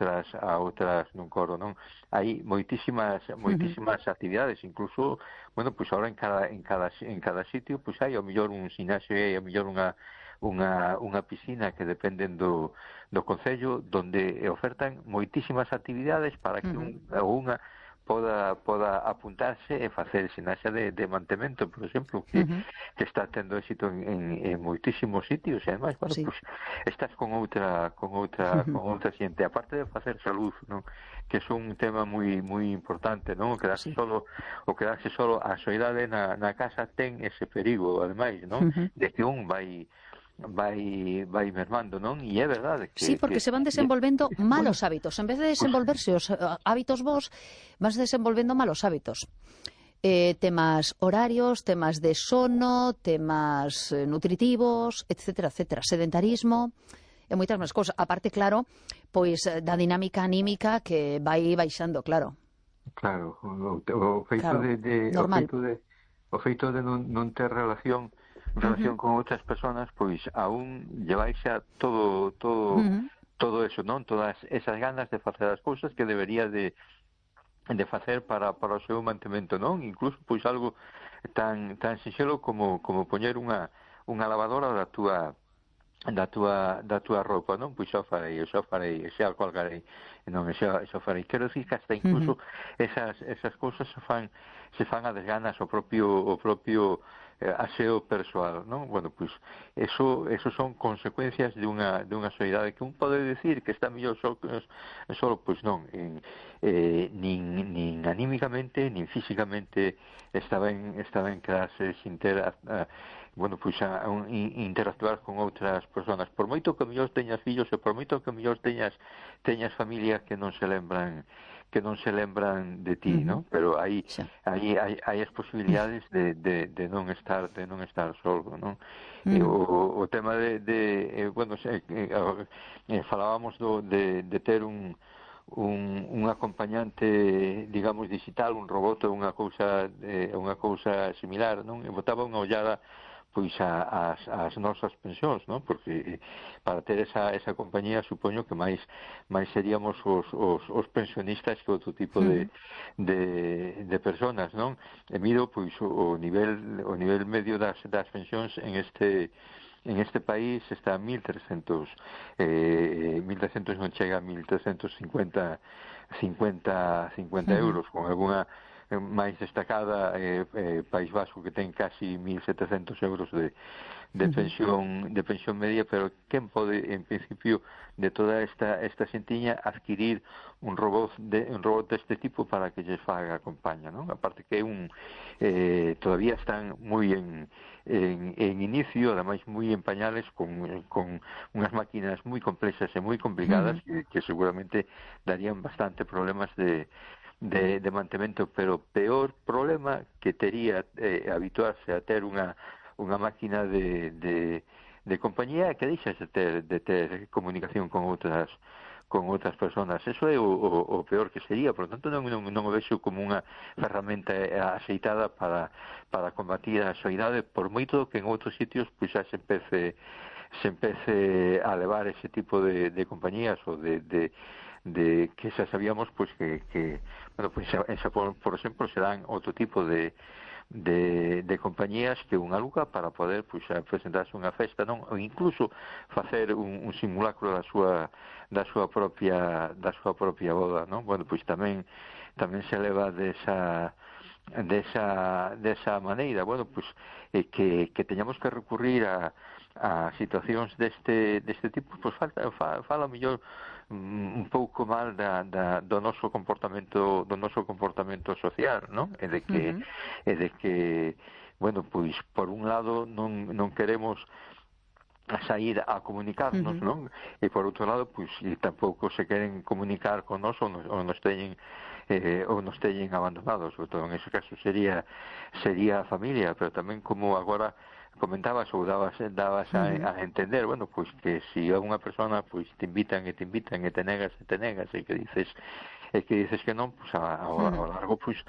outras nun coro, non? Hai moitísimas actividades, incluso, bueno, pois agora en cada sitio pois hai ao mellor un gimnasio e ao mellor unha piscina que dependen do concello, donde ofertan moitísimas actividades para que un ou unha poda apuntarse e facer ximnasia de mantemento, por exemplo, que está tendo éxito en moitísimos sitios, e ademais, bueno, Sí. pues estás con outra xente, aparte de facer salud, non? Que é un tema moi importante, non? O quedarse solo a soidade na casa ten ese perigo, ademais, non? De que un vai mermando, non? E é verdade que... Sí, porque se van desenvolvendo malos hábitos. En vez de desenvolverse os hábitos bons, vas desenvolvendo malos hábitos. Temas horarios, temas de sono, temas nutritivos, etcétera, etcétera. Sedentarismo e moitas máis cousas. Aparte, claro, pois da dinámica anímica que vai baixando, claro. Claro, o feito normal. o feito de non ter relación con outras persoas, pois aún llevaixa todo eso, non? Todas esas ganas de facer as cousas que debería de facer para o seu mantemento, non? Incluso pois algo tan sinxelo como poñer unha lavadora da túa roupa, non? Pois xa farei, xa colgarei, non, xa farei. Quero dicir que hasta incluso esas cousas se fan a desganas o propio aseo persoal, non? Bueno, pois eso son consecuencias de unha soidade que un pode decir que está mellor solo, pois non, nin anímicamente, nin físicamente está ben quedarse sin ter bueno, pois interactuar con outras persoas. Por moito que mellor teñas fillos e por moito que mellor teñas familia que non se lembran de ti, non? Pero hai as posibilidades de non estar solo, non? O tema bueno, falábamos de ter un acompañante, digamos, digital, un robot ou unha cousa similar, non? E botaba unha ollada pois as nosas pensións, non? Porque para ter esa compañía supoño que máis seríamos os pensionistas que outro tipo de persoas, non? E miro pois o nivel medio das pensións en este país está a 1.300 non chega a 1.350 euros, con alguna máis destacada País Vasco, que ten casi 1.700 euros de pensión media, pero quen pode, en principio, de toda esta xentiña adquirir un robot deste tipo para que lles faga a compañía, non? Aparte que todavía están moi en inicio, ademais moi en pañales, con unhas máquinas moi complexas e moi complicadas que seguramente darían bastante problemas de mantemento, pero peor problema que tería habituarse a ter unha máquina de compañía que deixas de ter comunicación con outras persoas. Eso é o peor que sería. Por lo tanto, non o vexo como unha ferramenta aceitada para combatir a soidade, por moito que en outros sitios pois xa se empece a levar ese tipo de compañías ou de que xa sabíamos pois que bueno, pois en Xapón, por exemplo, se dan outro tipo de compañías que un aluga para poder pois presentarse unha festa, non? Ou incluso facer un simulacro da súa propia boda, non? Bueno, pois tamén se leva desa maneira. Bueno, pois que teñamos que recurrir a situacións deste tipo, pois fala mellor un pouco mal do noso comportamento social, non? E de que bueno, pois por un lado non queremos a sair a comunicarnos, non? E por outro lado, pois tampouco se queren comunicar con nós ou nos teñen abandonados. Sobre todo en ese caso sería a familia, pero tamén, como agora comentabas ou dabas a entender, bueno, pois que se a unha persona pois te invitan e te negas e que dices que non, pois ao largo pois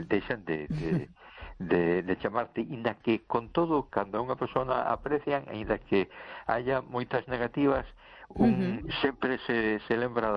deixan de chamarte, inda que con todo, cando a unha persona aprecian, inda que haya moitas negativas, sempre se lembra